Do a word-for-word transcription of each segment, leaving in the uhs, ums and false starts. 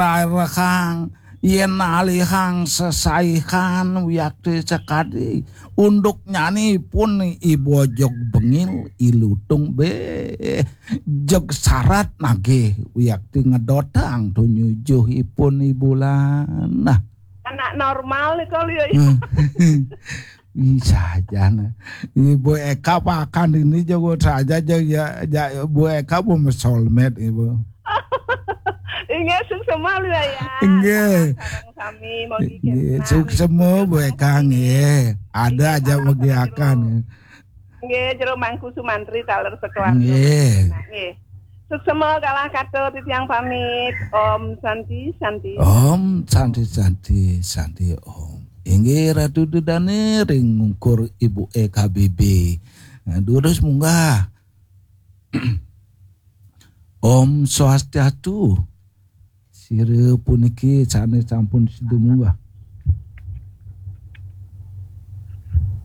Rarehang, yén alihang sesaihan wiakti sakadi. Unduk nyani pun i bojog bengil, i lutung bé jeg sarat nagih wiakti ngedotang tumuju ipun i bulan. Nah. Anak normal nih kalau ya. Ih, saja nah. Ibu Eka pakan ini jago saja aja ya, ya, Bu Eka bu soulmate ibu. Inggih, suksema lho ya. Inggih. Sareng sami, mugi inggih, kénten. Suksema Bu Eka nggih. Ada aja mugi akan. Nggih, jero Mangku Sumantri taler sekeluarga. Nggih. Nah, nggih. Suksema kalah kata titiang pamit. Om Santi, Santi. Om Santi, Santi, Santi, Om. Inggih Ratu Dudane ring ungkur Ibu E K B B. Nah, durus munggah. Om Swastiastu. Sira puniki sané sampun sida munggah.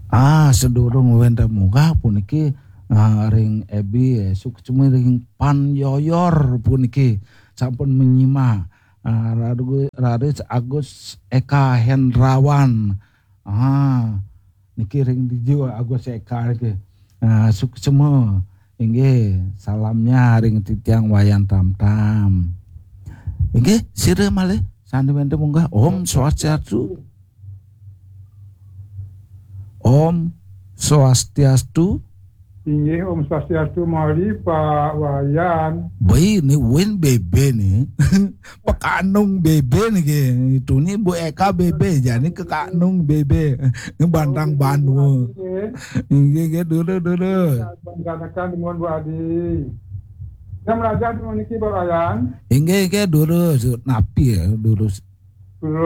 Ah, sedurung wénten munggah puniki, ah, ring Ebi, eh, suksma ring Pan Yoyor puniki sampun menyimak. Ah, raris, raris Agus Eka Hendrawan. Ah, niki ring dija Agus Eka niki. Ah, suksma. Inggih, salamnya ring titiang Wayan Tamtam. Inggih, sira malih sané wénten munggah. Om Swastiastu. Om Swastiastu. Inggih, Om Swastiastu malih, Pak Wayan. Baik, ni Win B B ni. Pekanung B B niki. Itu ni Bu Eka B B, jani ke Kanung B B. Ini Bantang Banua. Inggih, inggih, dulu, dulu. Bantanakan nuwun, Bu Adi. Yang melajah di niki, Pak Wayan. Inggih, inggih, dulu. Napi ya, dulu. Dulu.